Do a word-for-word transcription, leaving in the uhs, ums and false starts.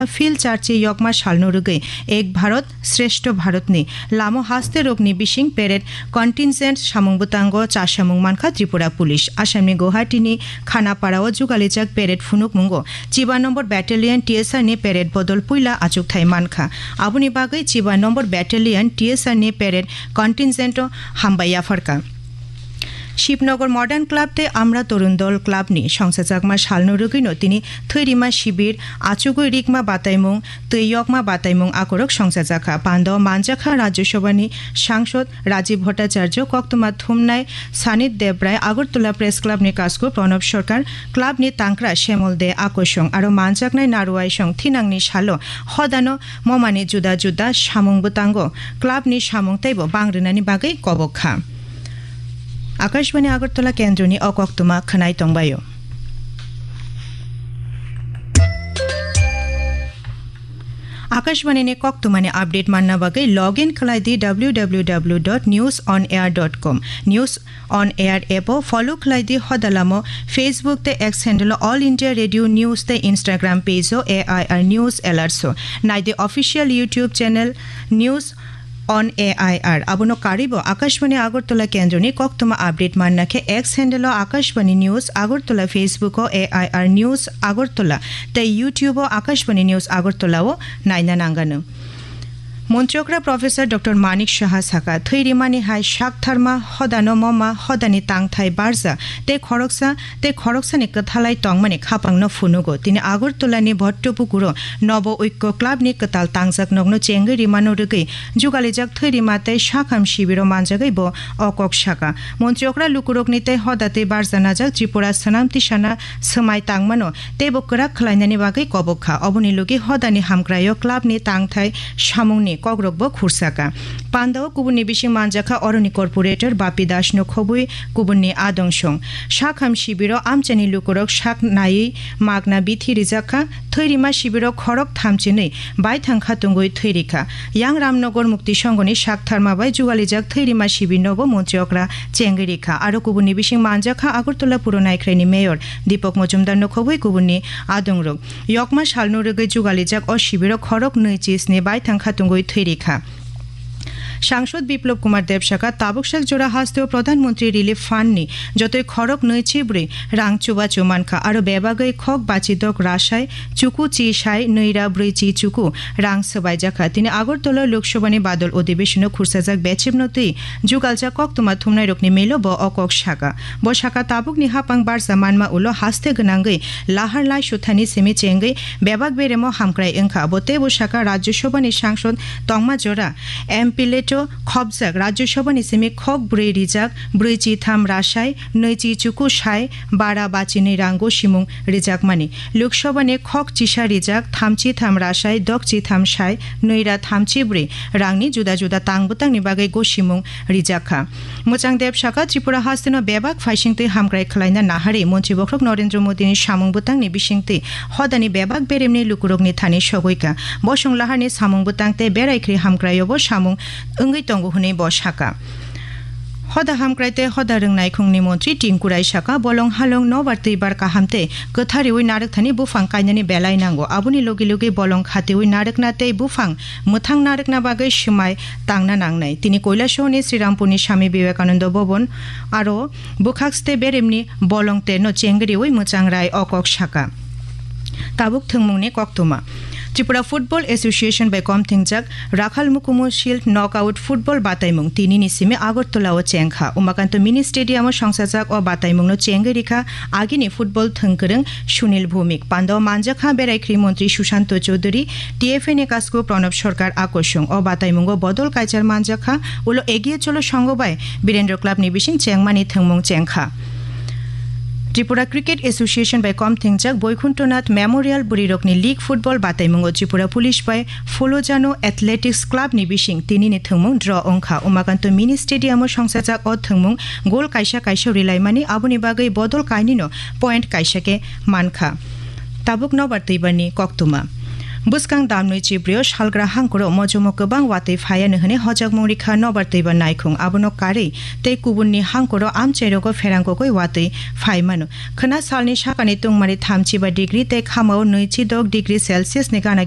Phil Church-i yokma salno rwgwi Ek Bharat Shrestho Bharat ni lamo haste rokni bising parade contingent samung bwtango chasamung mankha Tripura Police. Assamni Guwahati ni Khanapara o jugalijak parade phunukmungo chiba number battalion T S R ni parade bodol puila achukthai mankha. Aboni bagwi chiba number battalion T S R ni parade contingent o hambai yapharkha. Shibnagar Modern Club tei Amra Torun Dol Club ni songsajakma salno rwgwino tini thwirima shibir, achugwi rikma bataimung, twi yokma bataimung akorok songsajakha. Pando manjakha Rajya Sabha ni Sangsod Rajiv Bhattacharya, koktwma thumnai Sanit Debrai, Agartala Press Club ni Kasku Pranab Sarkar, club ni tangkra Shemol De Akosong, aro manjaknai Naruaisong thinangni salo hodano momani juda juda samung bwtango club ni samung teibo bang rwnani bagwi kobok kha. Akashbani Agartala kendroni o koktwma khwnai tongbaio. Akashbani ni koktwmani update manna bagwi log in khlai di w w w dot news on air dot com. News on Air app o follow khlai di hodalamo, Facebook tei X handle o All India Radio News tei Instagram page o A I R News Alerts o. Nai di official YouTube channel News on A I R. Abono karwi bo Akashbani Agartala kendroni koktwma update manna khe X handle o Akashbani News Agartala, Facebook o A I R News Agartala tei YouTube o Akashbani News Agartala o naina nangano. Montri okra Professor Doctor Manik Saha saka, thwi rimani hai sak tharma hodano moma hodani tangthai barja tei khoroksa tei khoroksani kwthalai tongmani khapangno phunugo. Tini Agartala ni Bhottopukuro Nobo Oikko Club ni kwtal tangjak nokno chengwi rimano rwgwi jugalijak thwi rima tei sakham shibiro manjagwi bo o kok saka. Montri okra lukurokni tei hoda tei barja najak Tripura swnam tisana swmai tangmano teibo kwrak khlainani bagwi kobok kha. Oboni logi hodani hamkraio club ni tangthai samungni kokrokbo khursa kha. Pandao kubunni bising manjakha oroni corporator Bapi Das no khobwi kubunni adong song. Sakham shibiro amchaini lukurok sak naiwi magna bithi rijak kha. Thwi rima shibiro khorok thamchinwi baithang kha tungwi thwi rikha. Yang Ramnagar Mukti Songhoni sak tharma bai jugalijak thwi rima shibirnobo montri okra chengwi rikha. Aro kubunni bising manjakha Agartala Puro Naikhraini Mayor Deepak Majumdar no khobwi kubunni adongrok. Yokma salno rwgwi jugalijak o shibiro khorok nwi chisni baithang kha tungwi thwi rikha. Sangsod Biplab Kumar Deb saka, tabuk sak jora hasteo Pradhan Mantri Relief Fund ni jotoi khorok nwi chi bwrwi rang chubachu mankha, aro bebagwi khok bachi dok rasai chuku chi sai nwi ra bwrwi chi chuku rang swbaijakha. Tini Agartala Lok Sabha ni badol odibeshono khursajak bechimno twi jugaljak koktwma thumnairokni melo bo o kok saka. Bo saka, tabukni hapang barja manma ulo haste gwnangwi lahar lai suthani simi chengwi bebak beremo hamkrai wngkha. Bo teibo saka, Rajya Sabha ni sangsod tongma jora M P leto khopjak Rajya Sabha ni simi khok bwrwi rijak bwrwi chi tham rasai nwi chi chuku sai bara bachinwi rang gosimung rijakmani. Lok Sabha ni khok chisa rijak thamchi tham rasai dokchi tham sai nwi ra thamchi bwrwi rangni juda juda tang bwtangni bagwi gosimung rijakha. Mwchang Deb saka, Tripura hasteno bebak phaisingtwi hamkrai khlaina naharwi Montri Bokhorok Narendra Modi ni samung bwtangni bisingtwi hodani bebak beremni lukurokni thani sogwi kha. Bosong laharni samung bwtang tei berai khri hamkraiobo samung wngwi tongo hwnwi bo saka. Hoda hamkrai tei hoda rwngnaikhungni montri Tinku Rai saka, bolong halong nobar twibar kaham tei kwthariwi narwkthani buphang kainani belai nango. Aboni logi logi bolong khatiwi narwkna tei buphang mwthang narwkna bagwi swmai tangna nangnai. Tini Koilasahoni Srirampurni Swami Vivekananda Bhavan aro bwkhakste beremni bolong terno chengriwi mwchang Rai o kok saka. Tabuk thwngmungni koktwma. Tripura Football Association bai kom thingjak Rakhal Mukumu Shield Knockout Football bataimung tinini simi Agartala o chengkha. Umakanto Mini Stadium o songsajak o bataimungno chengwi rikha agini football thwngkwrwng Sunil Bhumik. Pando manjakha berai khri montri Sushanto Chowdhury, T F A ni kasku Pranab Sarkar akosung. O bataimungo bodol kaichar manjakha ulo Egiye Cholo Songho bai Birendra Club ni bising chengmani thwngmung chengkha. Tripura Cricket Association bai kom thingjak Boikunthnath Memorial Bwrwirokni League Football bataimungo Tripura Police bai Folojano Athletics Club ni bising tinini thwngmung draw wngkha. Umakanto Mini Stadium o songsajak o thwngmung gol kaisa kaisa rilaimani, aboni bagwi bodol kainwino point kaisa khe mankha. Tabuk nobar twibarni koktwma. Bwskang damnwi chibrio salgra hangkoro mojomo kwbang watwi phaiano hwnwi hojakmung rikha nobar twibar naikhung. Abono karwi tei kubunni hangkoro amchairogo pherang kukui watwi phaimano. Khwna salni sakani tungmari thamchi ba degree tei khamao nwichi dok degree Celsius ni gana